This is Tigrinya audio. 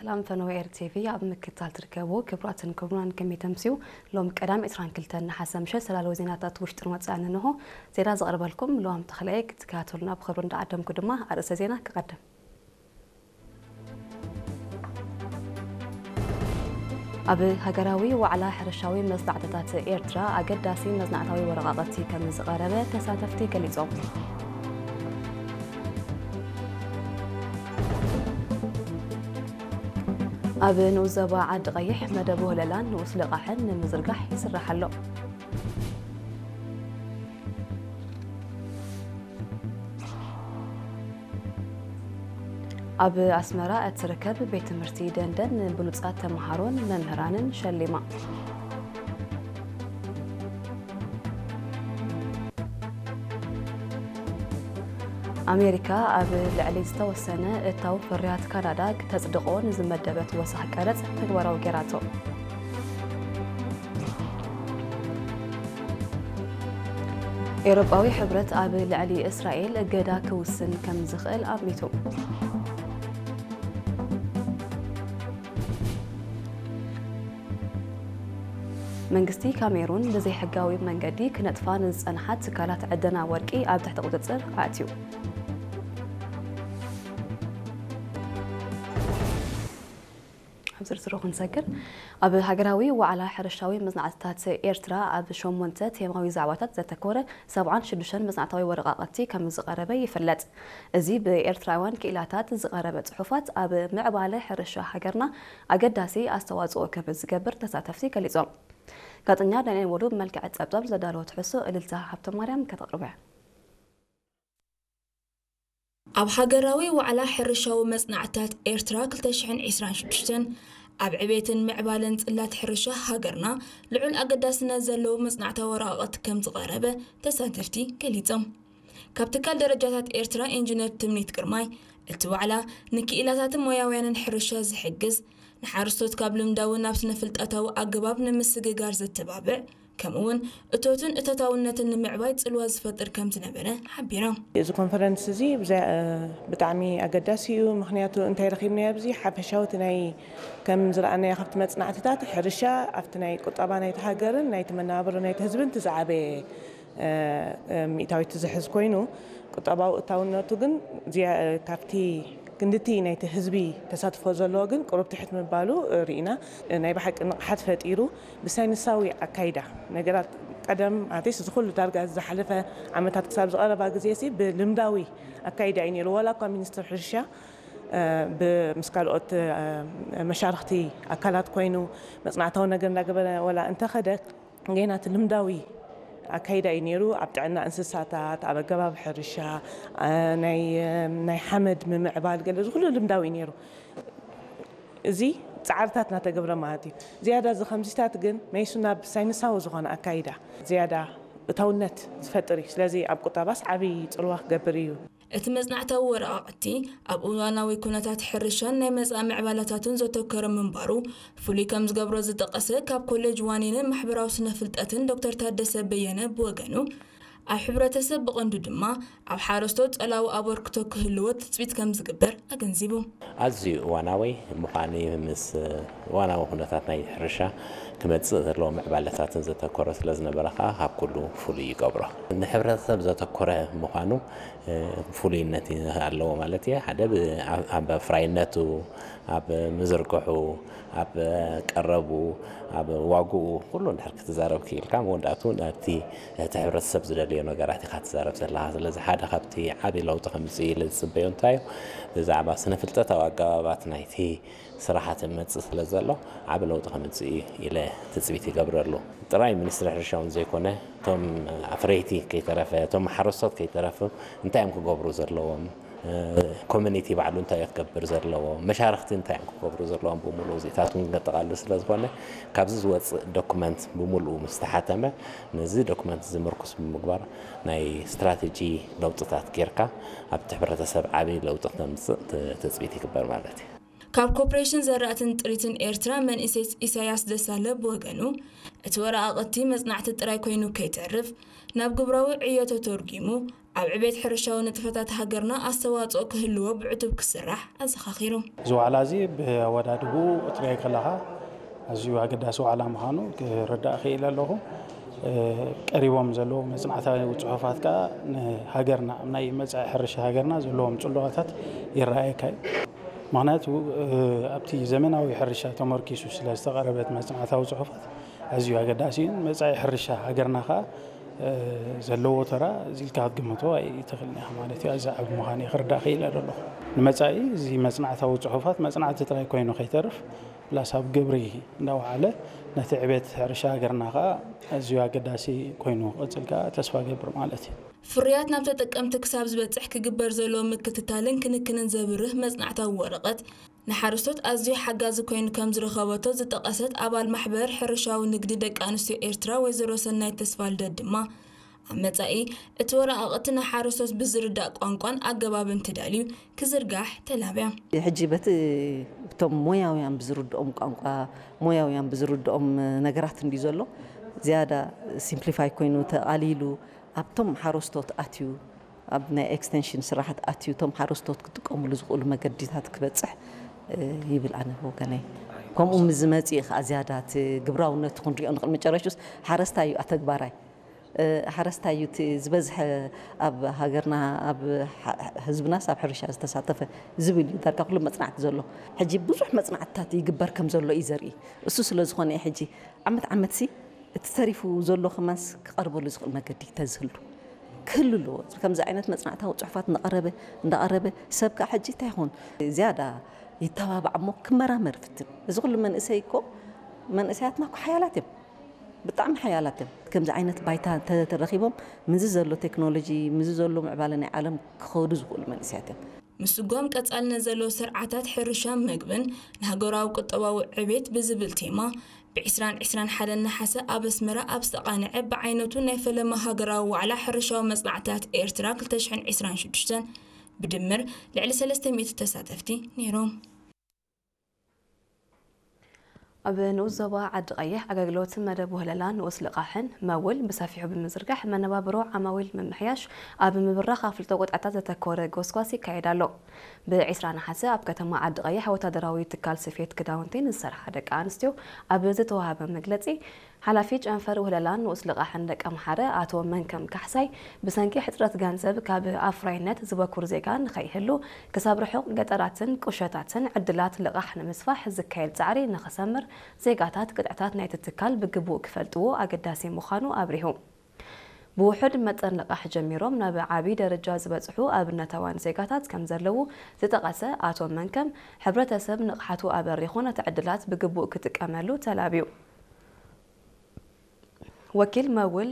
ሰላም ፈነወ ኤር ቲቪ ኣብ ምክትታል ትርከቡ ክቡራትን ክቡራን፣ ከመይ ተምስዩ? ሎም ቀዳም ዕስራን ክልተን ነሓሰ ምሸት ሰላለዊ ዜናታት ውሽጥን ወጻእን እንሆ። ዜና ዘቕርበልኩም ልዋም ተኽለየ። ክትከታተሉና ብኽብሪ እንዳዓደምኩ ድማ ኣርእስተ ዜና ክቐድም። ኣብ ሃገራዊ ዋዕላ ሕርሻዊ መጽናዕትታት ኤርትራ ኣገዳሲ መጽናዕታዊ ወረቓቕቲ ከም ዝቐረበ ተሳተፍቲ ገሊጾም። ኣብ ንኡስ ዞባ ዓዲ ቀይሕ መደብ ወህለላን ንኡስ ልቓሕን ንምዝርጋሕ ይስራሕ ኣሎ። ኣብ ኣስመራ እትርከብ ቤት ትምህርቲ ደንደን ንብሉጻት ተመሃሮን መምህራንን ሸሊማ። ኣሜሪካ ኣብ ልዕሊ ዝተወሰነ እታው ፍርያት ካናዳ ክተጽድቖ ንዝመደበት ወሰኽ ቀረጽ ተግባራዊ ገይራቶ። ኤውሮጳዊ ሕብረት ኣብ ልዕሊ እስራኤል እገዳ ክውስን ከም ዝኽእል ኣሚቱ። መንግስቲ ካሜሩን ብዘይሕጋዊ መንገዲ ክነጥፋ ንዝጸንሓ ትካላት ዕደና ወርቂ ኣብ ትሕቲ ቁጽጽር ኣእትዩ። ኣብ ዝርዝሩ ክንሰግር፣ ኣብ ሃገራዊ ዋዕላ ሕርሻዊ መጽናዕትታት ኤርትራ ኣብ ሸሞንተ ቴማዊ ዛዕባታት ዘተኮረ ሰብዓን ሽዱሽተን መጽናዕታዊ ወረቓቕቲ ከም ዝቐረበ ይፍለጥ። እዚ ብኤርትራውያን ክኢላታት ዝቐረበ ጽሑፋት ኣብ ምዕባለ ሕርሻ ሃገርና ኣገዳሲ ኣስተዋጽኦ ከም ዝገብር ተሳተፍቲ ገሊጾም። ጋዜጠኛ ዳንኤል ወዱ ብመልክዕ ጸብጻብ ዘዳለወ ትሕዝቶ እልልታ ሃብተማርያም ከተቕርቦ እያ። ኣብ ሃገራዊ ዋዕላ ሕርሻዊ መጽናዕትታት ኤርትራ ክልተ ሽሕን ዕስራን ሽዱሽተን ኣብ ዕቤትን ምዕባለን ጽላት ሕርሻ ሃገርና ልዑል ኣገዳስነት ዘለዎ መጽናዕታዊ ወረቓቕቲ ከም ዝቐረበ ተሳተፍቲ ገሊጾም። ካብ ትካል ደረጃታት ኤርትራ ኢንጂነር ትምኒት ግርማይ፣ እቲ ዋዕላ ንክኢላታትን ሞያውያንን ሕርሻ ዝሕግዝ፣ ንሓረስቶት ካብ ልምዳዊ ናብ ስነ-ፍልጠታዊ ኣገባብ ንምስግጋር ዘተባብዕ፣ ከምኡ'ውን እቶትን እቶታውነትን ንምዕባይ ጽልዋ ዝፈጥር ከም ዝነበረ ሓቢራ። እዚ ኮንፈረንስ እዚ ብዛ-፣ ብጣዕሚ ኣገዳሲ እዩ። ምኽንያቱ እንታይ ረኺብናዮ ኣብዚ? ሓፈሻዊ እቲ ናይ፣ ከም ዝረኣናዮ ካብቲ መጽናዕትታት፣ ሕርሻ ኣብቲ ናይ ቁጠባ ናይቲ ሃገርን ናይቲ መነባብሮ ናይቲ ህዝብን እቲ ዝዓበየ፣ እ፣ እ፣ ሚእታዊት ዝሕዝ ኮይኑ፣ ቁጠባዊ እታውነቱ ግን ዝያ-፣ ካብቲ ክንድቲ ናይቲ ህዝቢ ተሳትፎ ዘለዎ ግን ቁሩብ ትሕት ምባሉ ርኢና። ናይ ብሓቂ ንቕሓት ፈጢሩ ብሳይንሳዊ ኣካይዳ ነገራት ቀደም ኣትሊስት እዚ ኩሉ ዳርጋ ዝሓለፈ ዓመታት ክሳብ ዝቐረባ ግዜ ሲ ብልምዳዊ ኣካይዳ እዩ ነይሩ። ዋላ እኳ ሚኒስትር ሕርሻ፣ እ፣ ብ-፣ ምስ ካልኦት፣ እ፣ መሻርኽቲ ኣካላት ኮይኑ መጽናዕታዊ ነገር እንዳገበረ ዋላ እንተኸደ፣ ገና እቲ ልምዳዊ ኣካይዳ እዩ ነይሩ። ኣብ ጥዕና እንስሳታት፣ ኣብ ኣገባብ ሕርሻ፣ እ፣ ናይ፣ እ፣ ናይ ሓመድ ምምዕባል፣ ገለ እዚ ኩሉ ልምዳዊ እዩ ነይሩ። እዚ ጻዕርታት እናተገብረ ማለት እዩ። ዝያዳ እዚ ከምዚታት ግን መይሱ ናብ ሳይንሳዊ ዝኾነ ኣካይዳ ዝያዳ እታውነት ዝፈጥር እዩ። ስለዚ ኣብ ቁጠባስ ዓብዪ ጽልዋ ክገብር እዩ። እቲ መጽናዕታዊ ወረቓቕቲ ኣብ እዋናዊ ኩነታት ሕርሻን ናይ መጻኢ ምዕባለታቱን ዘተኮረ ምንባሩ ፍሉይ ከም ዝገብሮ ዝጠቐሰ ካብ ኮሌጅ ዋኒንን ማሕበራዊ ስነ ፍልጠትን ዶክተር ታደሰ በየነ ብወገኑ፣ ኣብ ሕብረተሰብ ብቐንዱ ድማ ኣብ ሓረስቶት ጸላዊ ኣበርክቶ ክህልዎ ትጽቢት ከም ዝግበር ኣገንዚቡ። ኣዝዩ እዋናዊ ምዃኑ ምስ እዋናዊ ኩነታት ናይ ሕርሻ ክመጽእ ዘለዎ ምዕባለታትን ዘተኮረ ስለ ዝነበረ ከኣ ካብ ኩሉ ፍሉይ ይገብሮ። ንሕብረተሰብ ዘተኮረ ምዃኑ፣ እ፣ ፍሉይነት ኣለዎ ማለት እየ። ሓደ ብ-፣ ኣብ፣ ኣብ ኣፍራይነቱ፣ ኣብ ምዝርግሑ፣ ኣብ ቀረቡ፣ ኣብ ዋግኡ፣ ኩሉ እንድሕር ክትዛረብ ክኢልካ፣ መወዳእቱ ነቲ እቲ ሕብረተሰብ ዝደልዮ ነገራት ኢኻ ትዛረብ ዘለኻ። ስለዚ ሓደ ካብቲ ዓቢ ለውጢ ከምጽእ ኢለ ዝጽበዮ እንታይ እዩ? ብዛዕባ ስነ ፍልጠታዊ ኣገባባት ናይቲ ስራሓት መጽእ ስለ ዘሎ ዓቢ ለውጢ ከምጽእ ኢለ ትጽቢት ይገብረሉ። ጥራይ ሚኒስትሪ ሕርሻ እውን ዘይኮነ፣ እቶም ኣፍረይቲ ከይተረፈ፣ እቶም ሓረስቶት ከይተረፈ እንታይ እዮም ክገብሩ ዘለዎም? እ፣ ኮሚኒቲ ባዕሉ እንታይ እዩ ክገብር ዘለዎ? መሻርኽቲ እንታይ እዮም ክገብሩ ዘለዎም? ብምሉኡ እዚታት እውን ከጠቓልል ስለ ዝኾነ፣ ካብዚ ዝወጽእ ዶኩመንት ብምሉኡ ምስ ተሓተመ፣ ነዚ ዶኩመንት እዚ ምርኩስ ብምግባር ናይ ስትራተጂ ለውጥታት ጌርካ ኣብቲ ሕብረተሰብ ዓቢ ለውጢ ከምጽእ ት-፣ ትጽቢት ይግበር ማለት እዩ። ካብ ኮርፖሬሽን ዘራእትን ጥሪትን ኤርትራ መንእሰይ ኢሳያስ ደሳለ ብወገኑ፣ እቲ ወረቓቕቲ መጽናዕቲ ጥራይ ኮይኑ ከይተርፍ፣ ናብ ግብራዊ ዕዮ ተተርጒሙ፣ ኣብ ዕቤት ሕርሻዊ ንጥፈታት ሃገርና ኣስተዋጽኦ ክህልዎ ብዕቱብ ክስራሕ ኣዘኻኺሩ። እዚ ዋዕላ እዚ ብኣወዳድብኡ ክትሪኦ ከለኻ ኣዝዩ ኣገዳሲ ዋዕላ ምዃኑ ክርዳእ ክኢለ ኣለኹ። እ፣ ቀሪቦም ዘለዉ መጽናዕታዊ ጽሑፋት ከኣ ንሃገርና፣ ኣብ ናይ መጻኢ ሕርሻ ሃገርና ዘለዎም ጽልዋታት ይረኣየካ እዩ። ምኽንያቱ፣ እ፣ ኣብቲ ዘመናዊ ሕርሻ ተመርኪሱ ስለ ዝተቐረበት መጽናዕታዊ ጽሑፋት ኣዝዩ ኣገዳሲ እዩ። መጻኢ ሕርሻ ሃገርና ከኣ፣ እ፣ ዘለዎ ተራ እዚ ኢልካ ክትግምቶ ኣይትኽእልን ኢኻ ማለት እዩ። ኣዝዩ ዓቢ ምዃኑ እየ ክርዳእ ክኢለ ዘለኹ። ንመጻኢ እዚ መጽናዕታዊ ጽሑፋት መጽናዕቲ ጥራይ ኮይኑ ከይተርፍ፣ ፕላስ ኣብ ግብሪ እንዳወዓለ ነቲ ዕቤት ሕርሻ ሃገርና ከኣ ኣዝዩ ኣገዳሲ ኮይኑ ክቕጽል ከኣ ተስፋ እገብር ማለት እዩ። ፍርያት ናብ ተጠቀምቲ ክሳብ ዝበጽሕ ክግበር ዘሎ ምክትታልን ክንክንን ዘብርህ መጽናዕታዊ ወረቐት፣ ንሓረስቶት ኣዝዩ ሓጋዚ ኮይኑ ከም ዝረኸበቶ ዝጠቐሰት ኣባል ማሕበር ሕርሻዊ ንግዲ ደቂ ኣንስትዮ ኤርትራ ወይዘሮ ሰናይት ተስፋልደት ድማ፣ ኣብ መጻኢ እቲ ወረቓቕቲ ንሓረስቶት ብዝርዳእ ቋንቋን ኣገባብን ተዳልዩ ክዝርጋሕ ተላብያ። ሕጂ በቲ እቶም ሞያውያን ብዝርድኦም ቋንቋ፣ ሞያውያን ብዝርድኦም ነገራት እንድዩ ዘሎ። ዝያዳ ሲምፕሊፋይ ኮይኑ ተቓሊሉ ኣብቶም ሓረስቶት ኣትዩ፣ ኣብ ናይ ኤክስቴንሽን ስራሓት ኣትዩ፣ እቶም ሓረስቶት ክጥቀሙሉ ዝኽእሉ መገዲታት ክበጽሕ፣ እ፣ ይብል ኣነ ብወገነይ። ከምኡ ምስ ዝመጽእ እዩ ከኣ ዝያዳ እቲ ግብራውነቱ ክንሪኦ ንኽእል። መጨረሽቱስ ሓረስታይ እዩ ኣተግባራይ። እ፣ ሓረስታይ እዩ እቲ ዝበዝሐ ኣብ ሃገርና፣ ኣብ ሓ-፣ ህዝብናስ ኣብ ሕርሻ ዝተሳተፈ ዝብል እዩ ዳርጋ ኩሉ መጽናዕቲ ዘሎ። ሕጂ ብዙሕ መጽናዕትታት ይግበር ከም ዘሎ እዩ ዘርኢ። እሱ ስለ ዝኾነ እዩ ሕጂ ዓመት ዓመትሲ እቲ ተሪፉ ዘሎ ከማንስ ክቐርበሉ ዝኽእል መገዲ ተዝህሉ ክህሉ ኣለዎ። ከምዚ ዓይነት መጽናዕታዊ ጽሑፋት እንዳቐረበ፣ እንዳቐረበ ሰብ ከኣ ሕጂ እንታይ ይኹን ዝያዳ ይተባባዕ እሞ ክመራመር ፍትን። እዚ ኩሉ መንእሰይ እኮ፣ መንእሰያትና እኮ ሓያላት እዮም። ብጣዕሚ ሓያላት እዮም። ከምዚ ዓይነት ባይታ እንተ ተረኺቦም፣ ምዚ ዘሎ ቴክኖሎጂ፣ ምዚ ዘሎ ምዕባለ ናይ ዓለም ክኸዱ ዝኽእሉ መንእሰያት እዮም። ምስጓም ቀጻልነት ዘለዎ ስርዓታት ሕርሻን መግብን ንሃገራዊ ቁጠባዊ ዕቤት ብዝብል ቴማ፣ ብ ዕስራን ዕስራን ሓደን ነሓሰ ኣብ ኣስመራ ኣብ ዝተቓንዐ ብዓይነቱ ናይ ፈለማ ሃገራዊ ዋዕላ ሕርሻዊ መጽናዕትታት ኤርትራ ክልተ ሽሕን ዕስራን ሽዱሽተን ብድምር ልዕሊ ሰለስተ ሚእቲ ተሳተፍቲ ነይሮም። ኣብ ንኡስ ዞባ ዓዲ ቀይሕ ኣገልግሎት መደብ ወህለላ ንኡስ ልቓሕን መውል ብሰፊሑ ብምዝርጋሕ መነባብሮ ዓማዊል ምምሕያሽ ኣብ ምብራኽ ኣፍልጦ ቆጥዕታት ዘተኮረ ጎስጓስ ይካየድ ኣሎ። ብ ዕስራ ነሓሰ ኣብ ከተማ ዓዲ ቀይሕ ወታደራዊ ትካል ስፌት ክዳውንቲ ንዝሰርሓ ደቂ ኣንስትዮ ኣብ ዝተዋሃበ መግለጺ፣ ሓላፊ ጨንፈር ውህለላን ንኡስ ልቓሕን ደቀምሓረ ኣቶ መንከም ካሕሳይ፣ ብሰንኪ ሕጽረት ገንዘብ ካብ ኣፍራይነት ዝበኩር ዜጋ ንኸይህሉ፣ ክሳብ ርሑቕ ገጠራትን ቁሸታትን ዕድላት ልቓሕ ንምስፋሕ ዝካየድ ጻዕሪ ንኽሰምር፣ ዜጋታት ቅጥዕታት ናይቲ ትካል ብግቡእ ክፈልጥዎ ኣገዳሲ ምዃኑ ኣብሪሁ። ብውሑድ መጠን ልቓሕ ጀሚሮም ናብ ዓቢ ደረጃ ዝበጽሑ ኣብነታውያን ዜጋታት ከም ዘለዉ ዝጠቐሰ ኣቶ መንከም፣ ሕብረተሰብ ንቕሓቱ ኣበሪኹ ነቲ ዕድላት ብግቡእ ክጥቀመሉ ተላብዩ። ወኪል መውል